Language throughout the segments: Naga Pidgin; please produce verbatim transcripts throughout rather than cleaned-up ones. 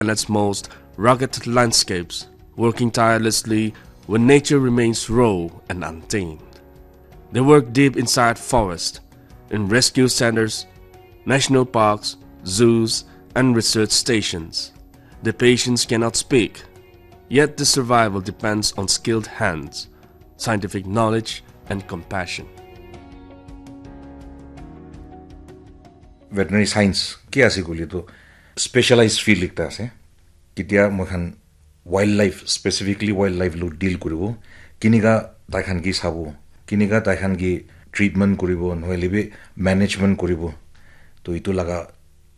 and its most rugged landscapes, working tirelessly when nature remains raw and untamed. They work deep inside forest, in rescue centers, national parks, zoos, and research stations. The patients cannot speak, yet the survival depends on skilled hands, scientific knowledge, and compassion. Veterinary science ke ase koile to specialized field ekta ase. Ketia moi khan wildlife, specifically wildlife lo deal kuribo, kinika tai khan ki sabo, kinika tai khan ki treatment kuribo, nohole bi management kuribo. To itu laga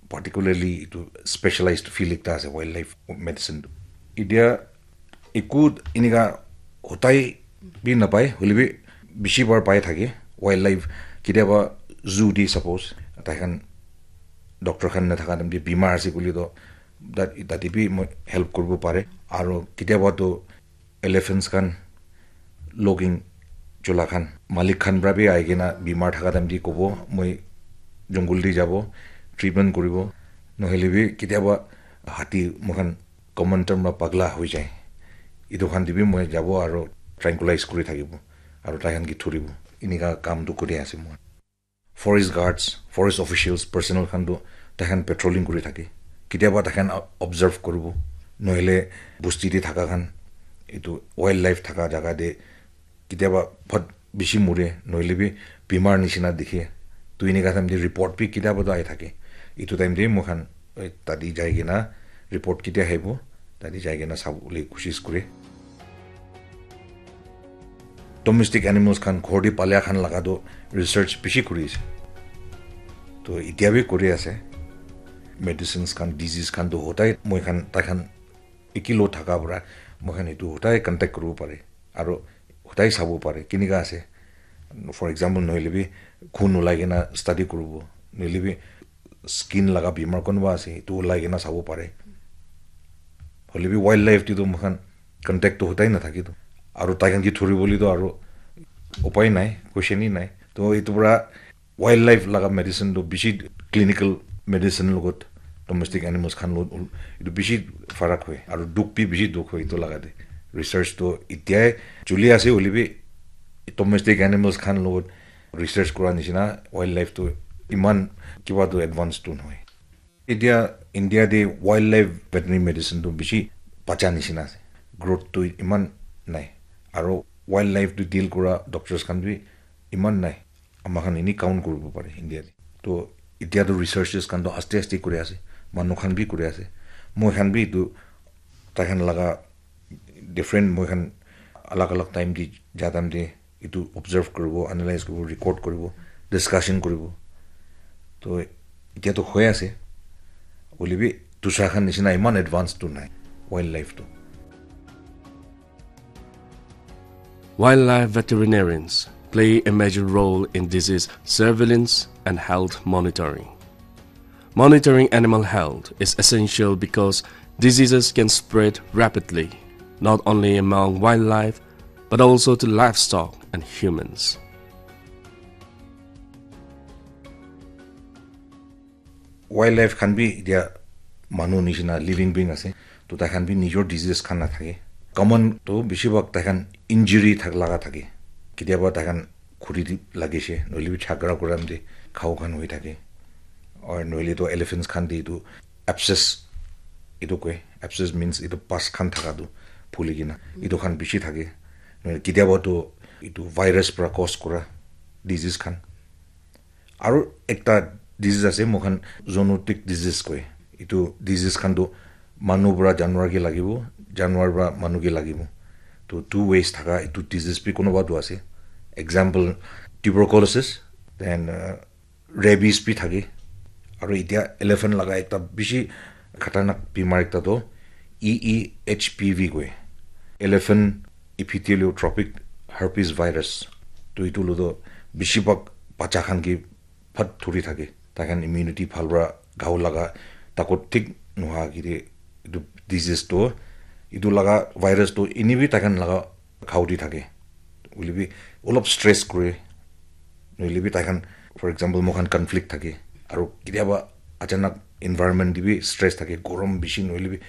particularly itu specialized field ekta ase wildlife medicine tu. Itia eku inika hotai bi napai, hoilebi bishi bar pai thake. Wildlife ketiaba zoo di suppose tai khan doctor khan nathaka time te bimar ase koile to tat- tate bi moi help kuribo pare. Aro ketiaba to elephants khan, logging chola khan, malik khan pra bi ahi kena bimar thaka time te kobo, "Moi jungle te jabo, treatment kuribo." Nohole bi ketiaba hati moikhan common term pra pagla hoi jai. Itu khan te bi moi jabo aro tranquilize kuri thakibo, aro tai khan ki thuribo. Inika kam tu kuri ase moi. Forest guards, forest officials, personnel khan tu tai khan patrolling kuri thake. Ketiaba tai khan observe kuribo. Nohole busti te thaka khan, itu wildlife thaka jaga te ketiaba bhot bishi mure, nohole bi bimar nishina dikhe. Tu inika time te report bi ketiaba to ahi thake. Itu time te moi khan, eh, tadi jai kena report ketia ahibo, tadi jai kena sabole koshish kure. Domestic animals khan, ghor te palia khan laga to research bishi kuri ase. To itia bi kuri ase. Medicines khan, disease khan to hotai moi khan, tai khan ekilo thaka para moi khan itu hotai contact kuribo pare. Aro hotai sabo pare, kinika ase. For example, nohole bi khun ulai kena study kuribo, nohole bi skin laga bimar konoba ase, itu ulai kena sabo pare. Hoile bi wildlife te to moi khan contact to hotai na thake to. Aro tai khan ki thuri bole to aro upai nai, question hi nai. To itu para wildlife laga medicine to bishi clinical medicine logot domestic animals khan logot itu bishi farak hoy. Aro dukh bi bishi dukh hoy itu laga te. Research to itia chuli ase, hoile bi domestic animals khan logot research kura nishina wildlife to iman kiba to advance to nohoi. Itia India te wildlife veterinary medicine tu bishi bacha nishina ase. Growth tu iman nai. Aro wildlife tu deal kura doctors khan bi iman nai. Ama khan ini count kuribo pare India te. To itia tu researchers khan tu aste aste kuri ase. Manu khan bi kuri ase. Moi khan bi tu tai khan laga different, moi khan alag alag time te ja time te itu observe kuribo, analyze kuribo, record kuribo, discussion kuribo. To itia to hoi ase. Hoile bi dusra khan nishina iman advance tu nai wildlife tu. Wildlife veterinarians play a major role in disease surveillance and health monitoring. Monitoring animal health is essential because diseases can spread rapidly, not only among wildlife, but also to livestock and humans. Wildlife khan bi itia manu nishina living being ase, to tai khan bi nijor disease khan na thake. Common to bishi bhag tai khan injury thak laga thake. Ketiaba tai khan khuri di lagise, nohole bi jhagara kura time te ghao khan hoi thake. Or nohole to elephants khan te itu abscess, itu koi, abscess means itu pus khan thaka tu phuli kena, itu khan bishi thake. Nohole ketiaba to itu virus pra cause kura disease khan. Aro ekta disease ase, moi khan zoonotic disease koi. Itu disease khan tu manu pra janwar ke lagibo, janwar pra manu ke lagibo. To two ways thaka itu disease bi konoba tu ase. Example, tuberculosis, then uh, rabies bi thake. Aro itia elephant laga ekta bishi khatarnak bimar ekta to E E H P V koi. Elephant epitheliotropic herpes virus. To itu lo to bishi bhag bacha khan ke phat thuri thake. Tai khan immunity bhal pra ghao laga takot thik noha kite itu disease to, itu laga virus to ini bi tai khan laga ghao di thake. Hoile bi olop stress kure. Nohole bi tai khan, for example, moi khan conflict thake. Aro ketiaba achanak environment te bi stress thake, gorom bishi nohoile bi